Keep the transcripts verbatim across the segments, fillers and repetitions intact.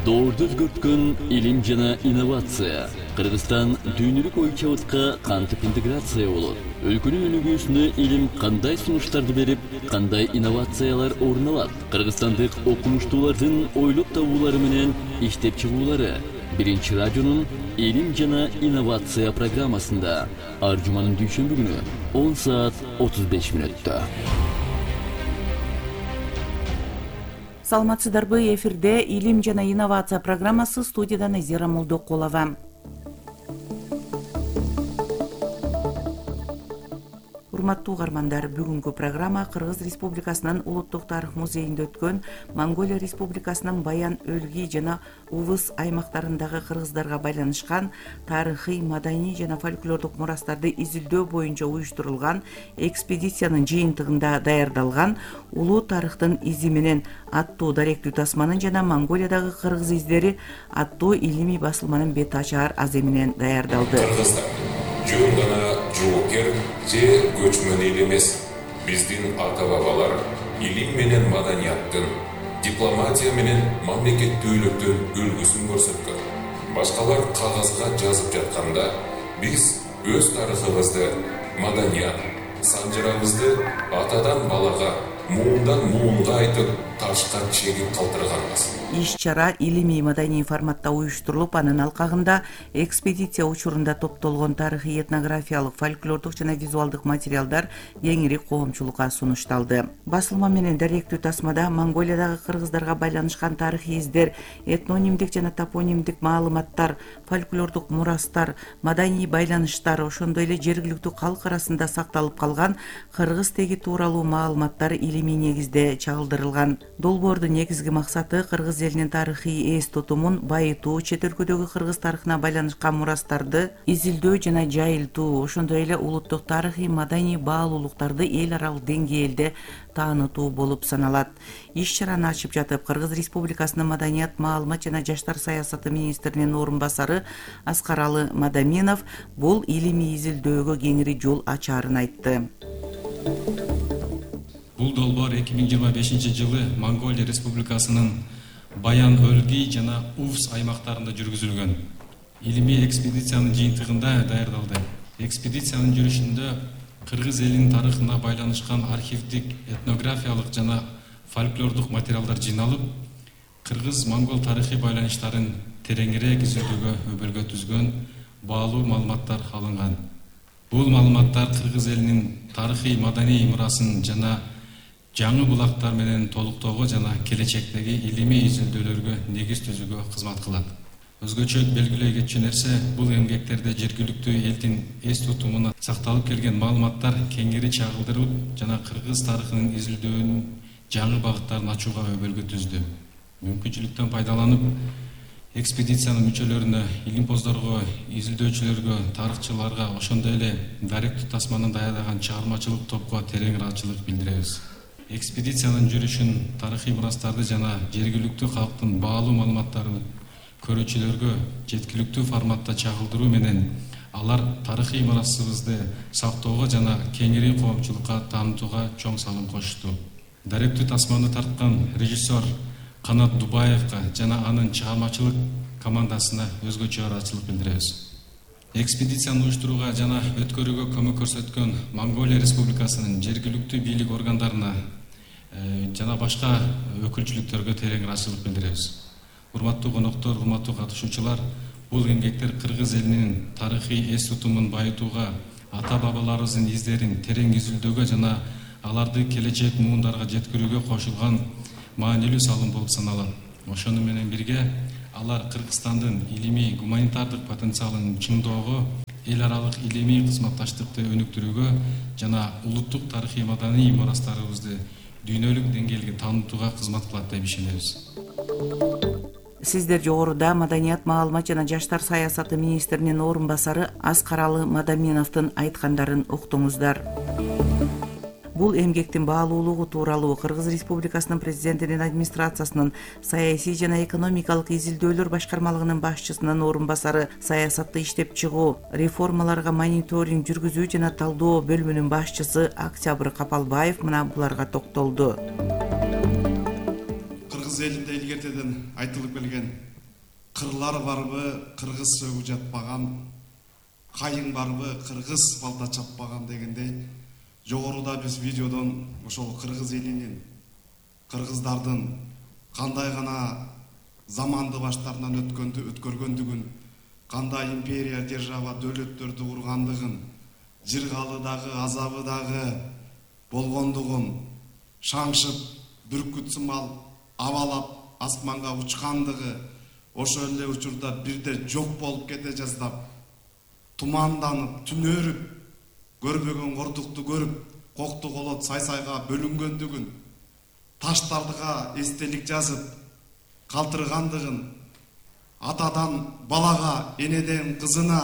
Доорду өзгөрткөн илим жана инновация. Кыргызстан дүйнөлүк ой чабытка кантип интеграция болот? Өлкөнүн өнүгүүсүнө илим кандай сунуштарды берип, кандай инновациялар орун алат? Кыргызстандык окумуштуулардын ойлоп табуулары менен иштеп чыгуулары. Биринчи радионун илим жана инновация программасында ар жуманын дүйшөмбү күнү он саат отуз беш мүнөттө. Саламатсыздарбы, эфирде илим жана инновация программасы, студияда Назира Молдокулова. Урматтуу угармандар, бүгүнкү программа Кыргыз Республикасынын Улуттук тарых музейинде өткөн Монголия Республикасынын Баян, Өлгий жана Увыс аймактарындагы кыргыздарга байланышкан тарыхый, маданий жана фольклордук мурастарды изилдөө боюнча уюштурулган экспедициянын жыйынтыгында даярдалган Улуу тарыхтын изи менен аттуу даректүү тасманын жана Монголиядагы кыргыз издери аттуу илимий басылманын бет ачаар азы менен даярдалды. Жөн гана жоокер же көчмөн эл эмес. Биздин ата-бабалар илим менен маданияттын, дипломатия менен мамлекеттүүлүктүн үлгүсүн көрсөткөн. Башкалар кагазга жазып жатканда, биз өз тарыхыбызды, маданият, санжырабызды атадан балага, муундан муунга айтып, ташка чегип калтырганбыз. Иш-чара илимий маданий форматта уюштурулуп, анын алкагында экспедиция учурунда топтолгон тарыхый, этнографиялык, фольклордук жана визуалдык материалдар кеңири коомчулукка сунушталды. Басылма менен даректүү тасмада Монголиядагы кыргыздарга байланышкан тарыхый издер, этнонимдик жана топонимдик маалыматтар, фольклордук мурастар, маданий байланыштар, ошондой эле жергиликтүү калк арасында сакталып калган кыргыз теги тууралуу маалыматтар илимий негизде чагылдырылган. Долбоордун негизги максаты кыргыз элинин тарыхый эс тутумун байытуу, чет өлкөдөгү кыргыз тарыхына байланышкан мурастарды изилдөө жана жайылтуу, ошондой эле улуттук тарыхый, маданий баалуулуктарды эл аралык деңгээлде таанытуу болуп саналат. Иш-чараны ачып жатып, Кыргыз Республикасынын маданият, маалымат жана жаштар саясаты министринин орун басары Аскаралы Мадаминов бул илимий изилдөөгө кеңири жол ачаарын айтты. Бул долбоор эки миң жыйырма бешинчи жылы Монголия Республикасынын Баян, Өлгий жана Увс аймактарында жүргүзүлгөн илимий экспедициянын жыйынтыгында даярдалды. Экспедициянын жүрүшүндө кыргыз элинин тарыхына байланышкан архивдик, этнографиялык жана фольклордук материалдар жыйналып, кыргыз-монгол тарыхый байланыштарын тереңирээк изилдөөгө өбөлгө түзгөн баалуу маалыматтар алынган. Бул маалыматтар кыргыз элинин тарыхый, маданий мурасын жана жаңы булактар менен толуктоого жана келечектеги илимий изилдөөлөргө негиз түзүүгө кызмат кылат. Өзгөчө белгилей кетчү нерсе, бул эмгектерде жергиликтүү элдин эс тутумуна сакталып келген маалыматтар кеңири чагылдырылып жана кыргыз тарыхынын изилдөөнүн жаңы багыттарын ачууга өбөлгө түздү. Мүмкүнчүлүктөн пайдаланып, экспедициянын мүчөлөрүнө, илимпоздорго, изилдөөчүлөргө, тарыхчыларга, ошондой эле даректүү тасманын даярдаган чыгармачылык топко терең ыраазычылык билдиребиз. Экспедициянын жүрүшүн тарыхый мурастарды жана жергиликтүү калктын баалуу маалыматтарын көрүүчүлөргө жеткиликтүү форматта чагылдыруу менен алар тарыхый мурасыбызды сактоого жана кеңири коомчулукка таанытууга чоң салым кошту. Даректүү тасманы тарткан режиссер Канат Дубаевга жана анын чыгармачылык командасына өзгөчө ыраазычылык билдиребиз. Экспедицияны уюштурууга жана өткөрүүгө көмөк көрсөткөн Монголия Республикасынын жергиликтүү бийлик органдарына жана башка өкүлчүлүктөргө терең ыраазычылык билдиребиз. Урматтуу коноктор, урматтуу катышуучулар, бул эмгектер кыргыз элинин тарыхый эс тутумун байытууга, ата-бабаларыбыздын издерин терең изилдөөгө жана аларды келечек муундарга жеткирүүгө кошулган маанилүү салым болуп саналат. Ошону менен бирге алар Кыргызстандын илимий гуманитардык потенциалын чыңдоого, эл аралык илимий кызматташтыкты өнүктүрүүгө жана улуттук тарыхый, маданий мурастарыбызды дүйнөлүк деңгээлге таанытууга кызмат кылат деп ишенебиз. Сиздер жогоруда маданият, маалымат жана жаштар саясаты министринин орун басары Аскаралы Мадаминовдун айткандарын уктуңуздар. Бул эмгектин баалуулугу тууралуу Кыргыз Республикасынын президентинин администрациясынын саясий жана экономикалык изилдөөлөр башкармалыгынын башчысынын орун басары, саясатты иштеп чыгуу, реформаларга мониторинг жүргүзүү жана талдоо бөлүмүнүн башчысы Октябрь Капалбаев мына буларга токтолду. Кыргыз элинде илгертеден айтылып келген кырлар барбы кыргыз сөгүп жатпаган, кайың барбы кыргыз балта чаппаган дегендей, жогоруда биз видеодон ошол кыргыз элинин, кыргыздардын кандай гана заманды баштарынан өткөндү өткөргөндүгүн, кандай империя, держава, дөөлөттөрдү кургандыгын, жыргалы дагы, азабы дагы болгондугун, шаңшып, бүркүт сымал абалап асманга учкандыгы, ошол эле учурда бирде жок болуп кете жаздап, туманданып, түнөрүп, көрбөгөн кордукту көрүп, кокту колот сай-сайга бөлүнгөндүгүн, таштардыга эстелик жазып, калтыргандыгын, атадан балага, энеден кызына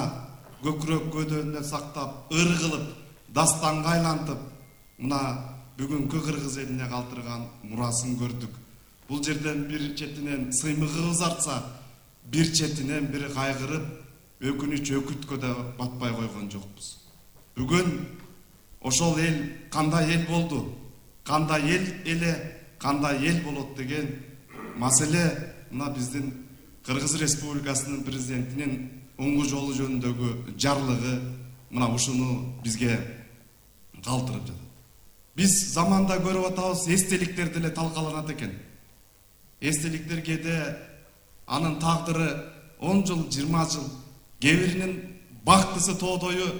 көкүрөк көдөнүнө сактап, ыр кылып, дастанга айлантып, мына бүгүнкү кыргыз элине калтырган мурасын көрдүк. Бул жерден бир четинен сыймыгыбыз артса, бир четинен бири кайгырып, өкүнүч өкүткө да батпай койгон жокпуз. Бүгүн ошол эл кандай эл болду, кандай эл эле, кандай эл болот деген маселе мына биздин Кыргыз Республикасынын президентинин оңгу жолу жөнүндөгү жарлыгы мына ушуну бизге калтырып жатат. Биз заманда көрүп атабыз, эстеликтер деле талкаланат экен. Эстеликтер кээде анын тагдыры он жыл, жыйырма жыл, кээ биринин бактысы тоодою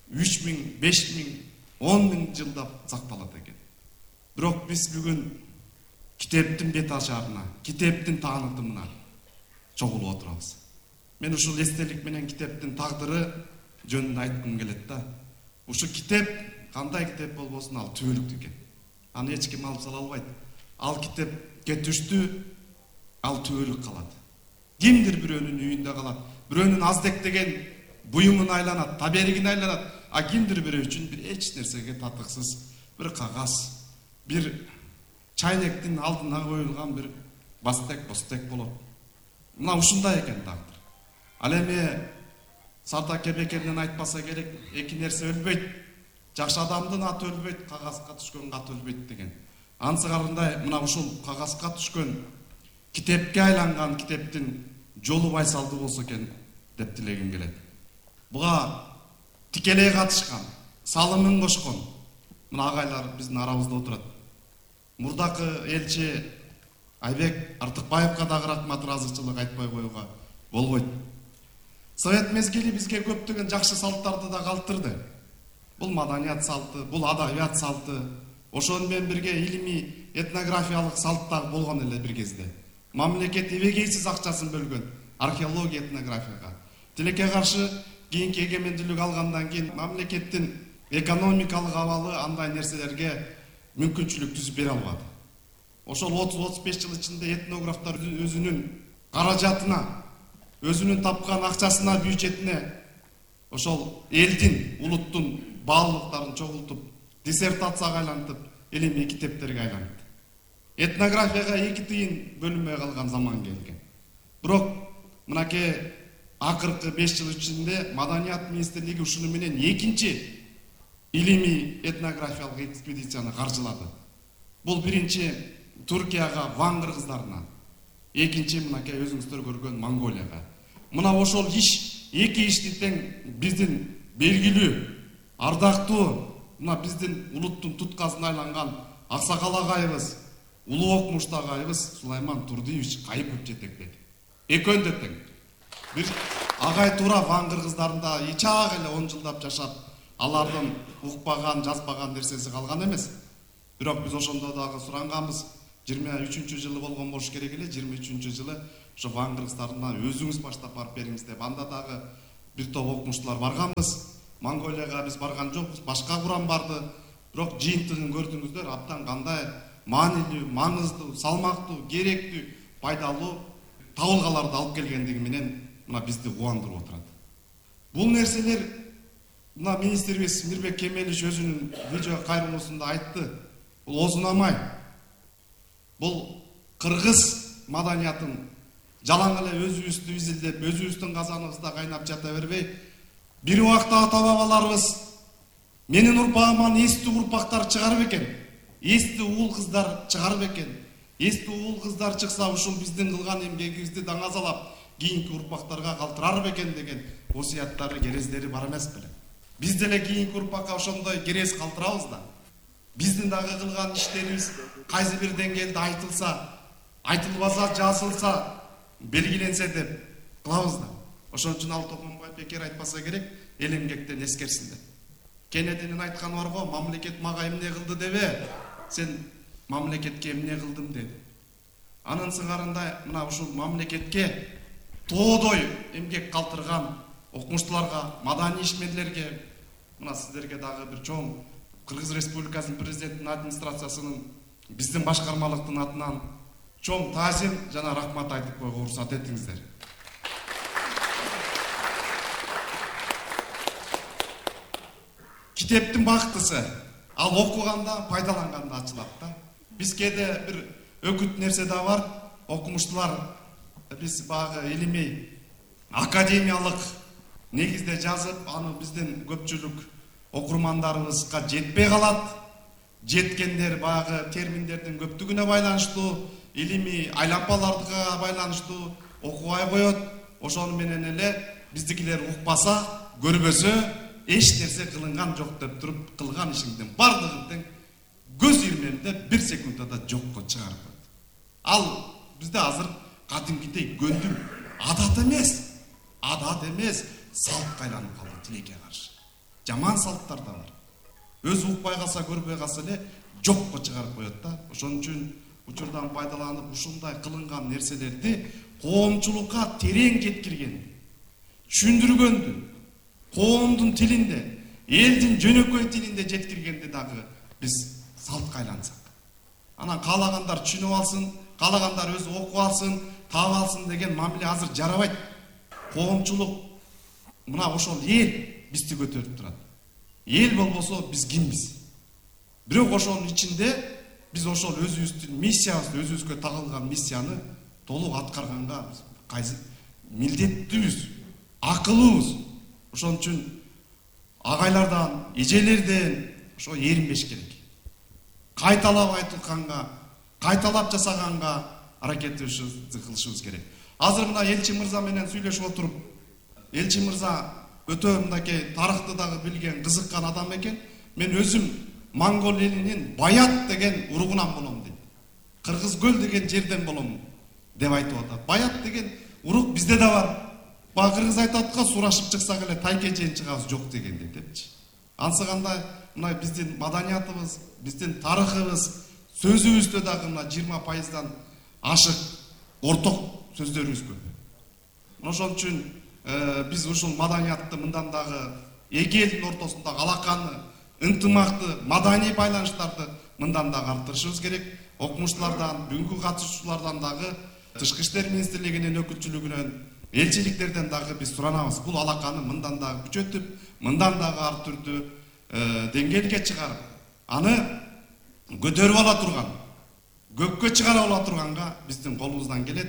үч миң, беш миң, он миң жылдап сакталат экен. Бирок биз бүгүн китептин бет ашарына, китептин таанытымына чогулуп отурабыз. Мен ушул эстелик менен китептин тагдыры жөнүндө айткым келет да. Ушу китеп кандай китеп болбосун, ал түбөлүктүү экен. Аны эч ким алып сала албайт. Ал китепке түштү, ал түбөлүк калат. Кимдир бирөөнүн үйүндө калат, бирөөнүн аздектеген буюмун айланат, таберигин айланат, а кимдир бирөө үчүн бир эч нерсеге татыксыз бир кагаз, бир чайнектин алдына коюлган бир бастек, бостек болот. Мына ушундай экен тагдыр. Ал эми Сарда Кебекенин айтпаса керек, эки нерсе өлбөйт. Жакшы адамдын аты өлбөйт, кагазга түшкөн кат өлбөйт деген. Ансыгарындай мына ушул кагазга түшкөн, китепке айланган китептин жолу байсалдуу болсо экен деп тилегим келет. Буга тикелей катышкан, салымын кошкон мына агайлар биздин арабызда отурат. Мурдакы элчи Айбек Артыкбаевга дагы рахмат, ыраазычылык айтпай коюуга болбойт. Совет мезгили бизге көптөгөн жакшы салттарды да калтырды. Бул маданият салты, бул адабият салты, ошону менен бирге илимий, этнографиялык салт дагы болгон эле бир кезде. Мамлекет эбегейсиз акчасын бөлгөн археология, этнографияга. Тилекке каршы кийинки эгемендүүлүк алгандан кийин мамлекеттин экономикалык абалы андай нерселерге мүмкүнчүлүк түзүп бере албады. Ошол отуз отуз беш жыл ичинде этнографтар өзүнүн каражатына, өзүнүн тапкан акчасына, бюджетине ошол элдин, улуттун баалуулуктарын чогултуп, диссертацияга айлантып, илимий китептерге айлантты. Этнографияга эки тыйын бөлүнбөй калган заман келген. Бирок мынакей акыркы беш жыл ичинде Маданият министрлиги ушуну менен экинчи илимий этнографиялык экспедицияны каржылады. Бул биринчи Туркияга, Ван кыргыздарына, экинчи мынакей өзүңүздөр көргөн Монголияга. Мына ошол иш, эки ишти тең биздин белгилүү, ардактуу, мына биздин улуттун туткасына айланган аксакал агайыбыз, улуу окумуштуу агайыбыз Сулайман Турдиевич Кайыпов жетектеди. Экөөнү да тең. Бир агай туура Ван кыргыздарында ичак эле он жылдап жашап, алардын укпаган, жазбаган нерсеси калган эмес. Бирок биз ошондо дагы суранганбыз, жыйырма үчүнчү жылы болгон болуш керек эле, жыйырма үчүнчү жылы ошо Ван кыргыздарына өзүңүз баштап барып бериңиз деп, анда дагы бир топ окумуштуулар барганбыз. Монголияга биз барган жокпуз, башка курам барды. Бирок жыйынтыгын көрдүңүздөр, абдан кандай маанилүү, маңыздуу, салмактуу, керектүү, пайдалуу табылгаларды алып келгендиги менен мына бизди кубандырып отурат. Бул нерселер мына министрибиз Мирбек Кемелич өзүнүн видео кайрылуусунда айтты. Бул озунамай. Бул кыргыз маданиятын жалаң эле өзүбүздү изилдеп, өзүбүздүн казаныбызда кайнап жата бербей, бир убакта ата-бабаларыбыз менин урпагыман эстүү урпактар чыгарып экен, эстүү уул кыздар чыгарып экен. Эстүү уул кыздар чыкса, ушул биздин кылган эмгегибизди даңазалап, кийинки урпактарга калтырар бекен деген осуяттары, керездери бар эмес беле. Биз деле кийинки урпакка ошондой керез калтырабыз да. Биздин дагы кылган иштерибиз кайсы бир деңгээлде айтылса, айтылбаса, жазылса, белгиленсе деп кылабыз да. Ошон үчүн ал Токмамбаев бекер айтпаса керек, эл эмгектен эскерсиндер. Кенединин айтканы бар го, мамлекет мага эмне кылды дебе, сен мамлекетке эмне кылдым деди. Анын сыңарында мына ушул мамлекетке тоодой эмгек калтырган окумуштууларга, маданий ишмерлерге, мына сиздерге дагы бир чоң Кыргыз Республикасынын президентинин администрациясынын биздин башкармалыктын атынан чоң таазим жана рахмат айтып койгонго уруксат этиңиздер. Китептин бактысы ал окуганда, пайдаланганда ачылат да. Биз кээде бир өкүт нерсе да бар, окумуштуулар биз багы илимий академиялык негизде жазып, аны биздин көпчүлүк окурмандарыбызга жетпей калат. Жеткендер багы терминдердин көптүгүнө байланыштуу, илимий айлампаларга байланыштуу окубай коет. Ошону менен эле биздикилер укпаса, көрбөсө, эч нерсе кылынган жок деп туруп, кылган ишиңдин бардыгын тең көз ирмемде бир секундда да жокко чыгарып коет. Ал бизде азыр кадимкидей көндүм адат эмес, адат эмес, салтка айланып калды тилекке каршы. Жаман салттар да бар. Өзү укпай калса, көрбөй калса эле жокко чыгарып коет да. Ошон үчүн учурдан пайдаланып ушундай кылынган нерселерди коомчулукка терең жеткирген, түшүндүргөндү, коомдун тилинде, элдин жөнөкөй тилинде жеткиргенди дагы биз салтка айлансак. Анан каалагандар түшүнүп алсын, каалагандар өзү окуп алсын, таап алсын деген мамиле азыр жарабайт. Коомчулук мына ошол эл бизди көтөрүп турат. Эл болбосо биз кимбиз? Бирок ошонун ичинде биз ошол өзүбүздүн миссиябызды, өзүбүзгө тагылган миссияны толук аткарганга кайсы милдеттүүбүз, акылыбыз. Ошон үчүн агайлардан, эжелерден ошо эринбеш керек. Кайталап айтылганга, кайталап жасаганга аракетибизди кылышыбыз керек. Азыр мына элчи мырза менен сүйлөшүп отуруп, элчи мырза өтө мынакей тарыхты дагы билген, кызыккан адам экен. Мен өзүм Монгол элинин Баят деген уругунан болом дейт. Кыргыз көл деген жерден болом деп айтып атат. Баят деген урук бизде да бар. Ба кыргыз айтат го, сурашып чыксак эле тайке чейин чыгабыз жок дегендей депчи. Ансыганда мына биздин маданиятыбыз, биздин тарыхыбыз, сөзүбүздө дагы мына жыйырма пайыздан ашык орток сөздөрүбүз көп. Ошон үчүн биз ушул маданиятты мындан дагы эки элдин ортосундагы алаканы, ынтымакты, маданий байланыштарды мындан дагы арттырышыбыз керек. Окумуштуулардан, бүгүнкү катышуучулардан дагы Тышкы иштер министрлигинин өкүлчүлүгүнөн, элчиликтерден дагы биз суранабыз. Бул алаканы мындан дагы күчөтүп, мындан дагы ар түрдүү деңгээлге чыгарып, аны көтөрүп ала турган, көккө чыгара ала турганга биздин колубуздан келет.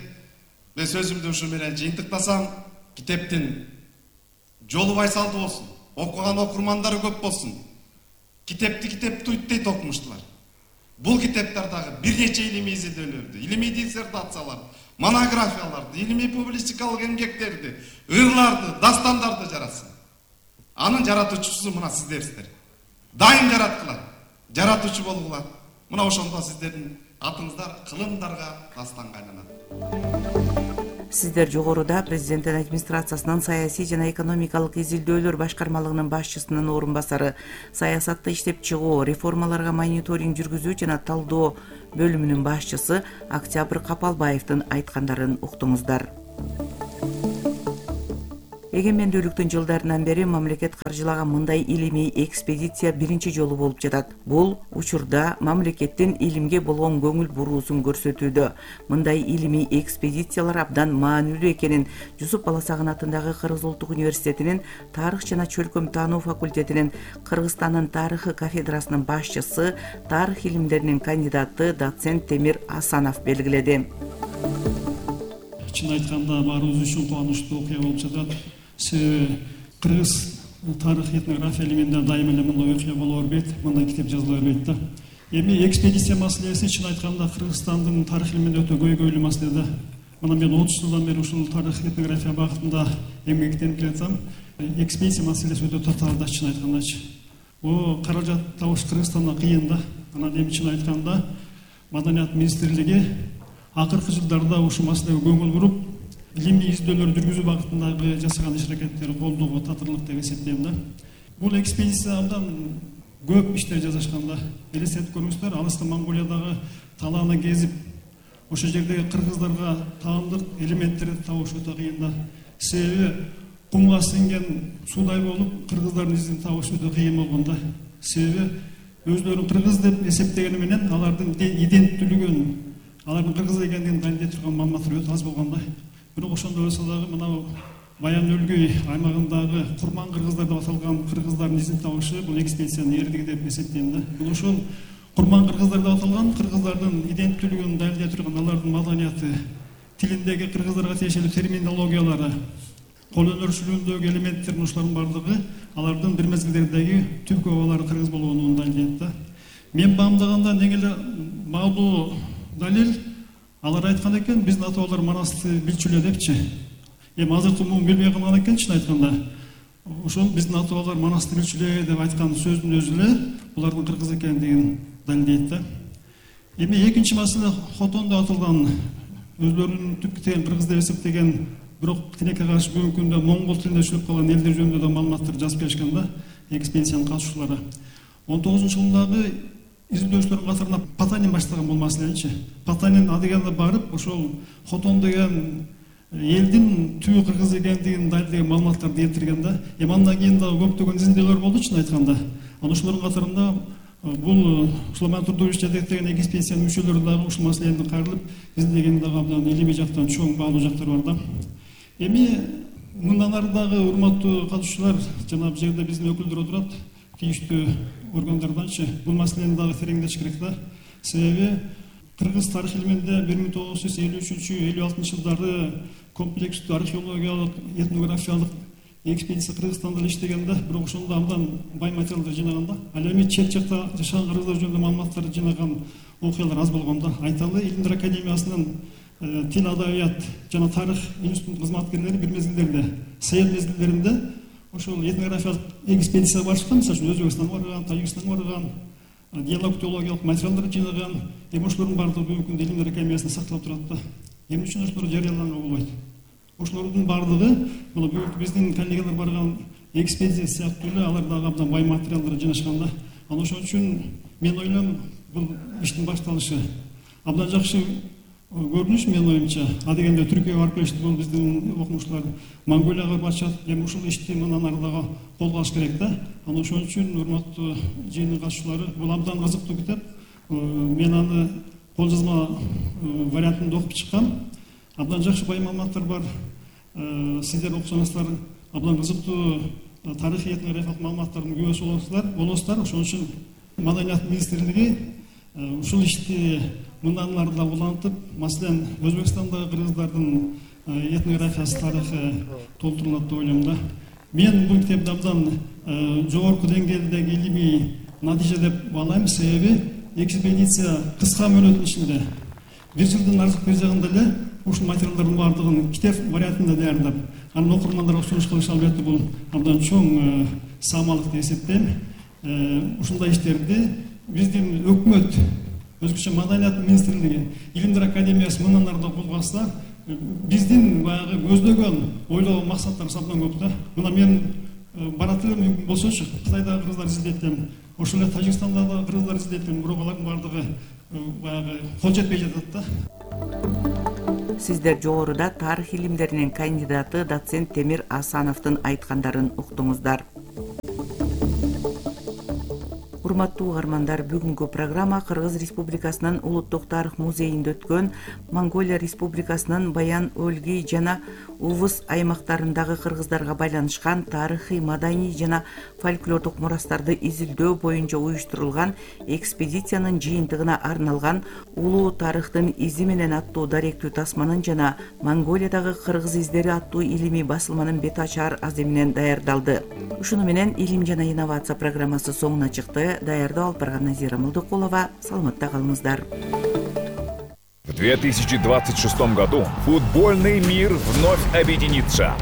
Мен сөзүмдү ушу менен жыйынтыктасам, китептин жолу байсалдуу болсун, окуган окурмандары көп болсун. Китепти китеп туйт дейт окумуштуулар. Бул китептер дагы бир нече илимий изилдөөлөрдү, илимий диссертацияларды, монографияларды, илимий публистикалык эмгектерди, ырларды, дастандарды жаратсын. Анын жаратуучусу мына сиздерсиздер. Дайым жараткыла, жаратуучу болгула. Мына ошондо сиздердин атыңыздар кылымдарга, дастанга айланат. Сиздер жогоруда президенттин администрациясынын саясий жана экономикалык изилдөөлөр башкармалыгынын башчысынын орун басары, саясатты иштеп чыгуу, реформаларга мониторинг жүргүзүү жана талдоо бөлүмүнүн башчысы Октябрь Капалбаевдин айткандарын уктуңуздар. Эгемендүүлүктүн жылдарынан бери мамлекет каржылаган мындай илимий экспедиция биринчи жолу болуп жатат. Бул учурда мамлекеттин илимге болгон көңүл буруусун көрсөтүүдө. Мындай илимий экспедициялар абдан маанилүү экенин Жусуп Баласагын атындагы Кыргыз Улуттук университетинин тарых жана чөлкөм таануу факультетинин Кыргызстандын тарыхы кафедрасынын башчысы, тарых илимдеринин кандидаты доцент Темир Асанов белгиледи. Чын айтканда баарыбыз үчүн кубанычтуу окуя болуп жатат. Себеби кыргыз тарых этнография илиминде дайыма эле мындай окуя боло бербейт, мындай китеп жазыла бербейт да. Эми экспедиция маселеси чын айтканда Кыргызстандын тарых илиминде өтө көйгөйлүү маселе да. мына мен отуз жылдан бери ушул тарых этнография багытында эмгектенип келатам. Экспедиция маселеси өтө татаалда, чын айткандачы. О каражат табыш Кыргызстанда кыйын да. Анан эми чын айтканда Маданият министрлиги акыркы жылдарда ушул маселеге көңүл буруп, илимий издөөлөр жүргүзүү багытындагы жасаган иш-аракеттери колдоого татырлык деп эсептейм да. Бул экспедиция абдан көп иштер жасашканда, элестетип көрүңүздөр, алыска Монголиядагы талааны кезип, ошол жердеги кыргыздарга таандык элементтерди табыш өтө кыйын да. Себеби кумга сиңген суудай болуп, кыргыздардын изин табыш өтө кыйын болгон да. Себеби өздөрүн кыргыз деп эсептегени менен алардын иденттүүлүгүн, алардын кыргыз экендигин далилдей турган маалыматтар өтө аз болгон да. Бирок ошондой болсо дагы мына Баян өлгөй аймагындагы курман кыргыздар деп аталган кыргыздардын изин табышы бул экспедициянын эрдиги деп эсептейм да. Бул ошол курман кыргыздар деп аталган кыргыздардын иденттүүлүгүн далилдей турган алардын маданияты, тилиндеги кыргыздарга тиешелүү терминологиялары, кол өнөрчүлүгүндөгү элементтердин ушулардын бардыгы алардын бир мезгилдердеги түпкү бабалары кыргыз болгонун далилдейт да. Мен баамдаганда неге эле маалуу далил алар айткан экен, биздин ата бабалар манасты билчү эле депчи. Эми азыркы муун билбей калган экен, чын айтканда. Ошол биздин ата бабалар манасты билчү эле деп айткан сөздүн өзү эле булардын кыргыз экендигин далилдейт да. Эми экинчи маселе Хотондо аталган өздөрүнүн түпкү тегин кыргыз деп эсептеген, бирок тилекке каршы бүгүнкү күндө моңгол тилинде сүйлөп калган элдер жөнүндө да маалыматтар жазып беришкен да, экспедициянын катышуучулары. он тогузунчу жылдагы изилдөөчүлөрдүн катарына Потанин баштаган бул маселеничи. Потанин адегенде барып, ошол Хотон деген элдин түбү кыргыз экендигин далилдеген маалыматтарды келтирген да. Эми андан кийин дагы көптөгөн изилдөөлөр болду, чын айтканда. Анан ошолордун катарында бул Сулайман Турдуевич жетектеген экспедициянын мүчөлөрү дагы ушул маселени кайрылып изилдеген дагы абдан илимий жактан чоң баалуу жактар бар да. Эми мындан ары дагы урматтуу катышуучулар, жана бул жерде биздин өкүлдөр отурат, тийиштүү органдарданчы бул маселени дагы тереңдетиш керек да. Себеби кыргыз тарых илиминде бир миң тогуз жүз элүү үчүнчү элүү алтынчы жылдары комплекстүү археологиялык этнографиялык экспедиция Кыргызстанда иштегенде, бирок ошондо абдан бай материалдар жинаганда, ал эми чет жакта жашаган кыргыздар жөнүндө маалыматтарды жинаган окуялар аз болгон да. Айталы, Илимдер академиясынын тил, адабият жана тарых институтунун кызматкерлери бир мезгилдерде, совет мезгилдеринде ошол этнографиялык экспедиция барышкан, мисалы үчүн Өзбекстанга барган, Тажикстанга барган, диалектологиялык материалдар жинаган. Эми ошолордун баардыгы бүгүнкү күндө Илимдер академиясында сакталып турат да. Эмне үчүн ошолор жарыяланганга болбойт? Ошолордун баардыгы мына бүгүнкү биздин коллегалар барган экспедиция сыяктуу эле алар дагы абдан бай материалдар жинашкан да. Анан ошон үчүн мен ойлойм, бул иштин башталышы абдан жакшы көрүнүш менин оюмча. Адегенде Түркияга барып келишти бул биздин окумуштуулар, Монголияга барышат. Эми ушул ишти мындан ары дагы колго алыш керек да. Анан ошон үчүн урматтуу жыйындын катышуучулары, бул абдан кызыктуу китеп. Мен аны кол жазма вариантында окуп чыккам. Абдан жакшы бай маалыматтар бар. Сиздер окусаңыздар абдан кызыктуу тарыхый этнографиялык маалыматтардын күбөсү болосуздар. Болосуздар. Ошон үчүн Маданият министрлиги ушул ишти мындан ары да улантып, маселен, Өзбекстандагы кыргыздардын этнографиясы, тарыхы толтурулат деп ойлойм да. Мен бул китепти абдан жогорку деңгээлдеги илимий натыйжа деп баалайм. Себеби экспедиция кыска мөөнөттүн ичинде бир жылдын артык бир жагында эле ушул материалдардын баардыгын китеп вариантында даярдап, анын окурмандарга сунуш кылыш албетте бул абдан чоң саамалык деп эсептейм. Ушундай иштерди биздин өкмөт, өзгөчө Маданият министрлиги, Илимдер академиясы мындан ары да колго алса, биздин баягы көздөгөн ойлоо максаттарыбыз абдан көп да. Мына мен барат элем, мүмкүн болсочу Кытайдагы кыргыздар изилдеттим, ошол эле Тажикстандагы кыргыздар изилдеттим, бирок алардын баардыгы баягы кол жетпей жатат да. Сиздер жогоруда тарых илимдеринин кандидаты доцент Темир Асановдун айткандарын уктуңуздар. Урматтуу угармандар, бүгүнкү программа Кыргыз Республикасынын Улуттук тарых музейинде өткөн Монголия Республикасынын Баян өлгий жана Увус аймактарындагы кыргыздарга байланышкан тарыхый, маданий жана фольклордук мурастарды изилдөө боюнча уюштурулган экспедициянын жыйынтыгына арналган Улуу тарыхтын изи менен аттуу даректүү тасманын жана Монголиядагы кыргыз издери аттуу илимий басылманын бет ачар аземинен даярдалды. Ушуну менен Илим жана инновация программасы соңуна чыкты. Даярдоо алып барган Назира Молдокулова. Саламатта калыңыздар. В две тысячи двадцать шестом году футбольный мир вновь объединится.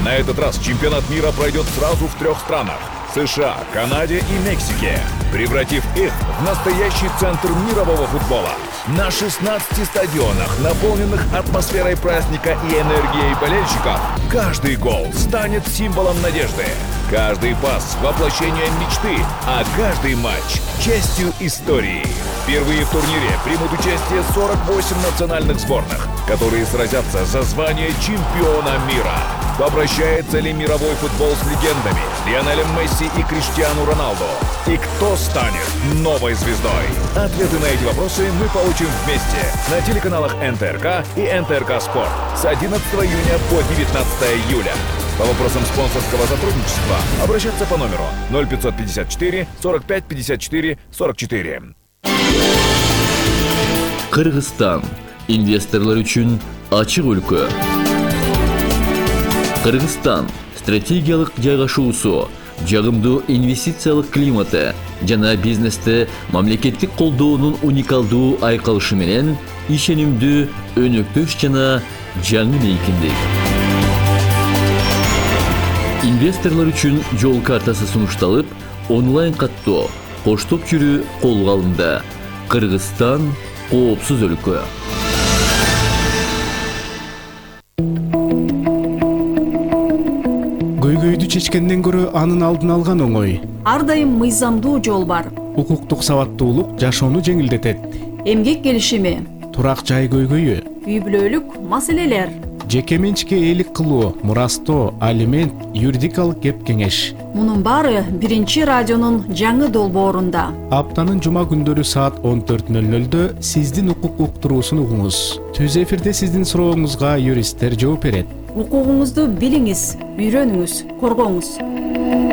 На этот раз чемпионат мира пройдет сразу в трех странах – США, Канаде и Мексике, превратив их в настоящий центр мирового футбола. На шестнадцати стадионах, наполненных атмосферой праздника и энергией болельщиков, каждый гол станет символом надежды. Каждый пас – воплощением мечты, а каждый матч – частью истории. Впервые в турнире примут участие сорок восемь национальных сборных, которые сразятся за звание чемпиона мира. Попрощается ли мировой футбол с легендами Лионелем Месси и Криштиану Роналду? И кто станет новой звездой? Ответы на эти вопросы мы получим вместе на телеканалах эн тэ эр ка и эн тэ эр ка Спорт с одиннадцатого июня по девятнадцатое июля. По вопросам спонсорского сотрудничества обращаться по номеру ноль пятьсот пятьдесят четыре сорок пять пятьдесят четыре сорок четыре. Кыргызстан инвесторлар үчүн ачык өлкө. Кыргызстан стратегиялык жайгашуусу, жагымдуу инвестициялык климаты жана бизнесте мамлекеттик колдоонун уникалдуу айкалышы менен ишенимдүү, өнөктөш жана жаңы мейкиндик. Инвесторлор үчүн жол картасы сунушталып, онлайн каттоо, коштоп жүрүү колго алынды. Кыргызстан коопсуз өлкө. Көйгөйдү чечкенден көрө анын алдын алган оңой. Ар дайым мыйзамдуу жол бар. Укуктук сабаттуулук жашоону жеңилдетет. Эмгек келишими, Турак жай көйгөйү, үй бүлөлүк маселелер. жеке менчикке ээлик кылуу, мурастоо, алимент, юридикалык кеп кеңеш. Мунун баары биринчи радионун жаңы долбоорунда. Аптанын жума күндөрү саат он төрт ноль нольдө сиздин укук уктуруусун угуңуз. Түз эфирде сиздин сурооңузга юристтер жооп берет. Укугуңузду билиңиз, үйрөнүңүз, коргоңуз.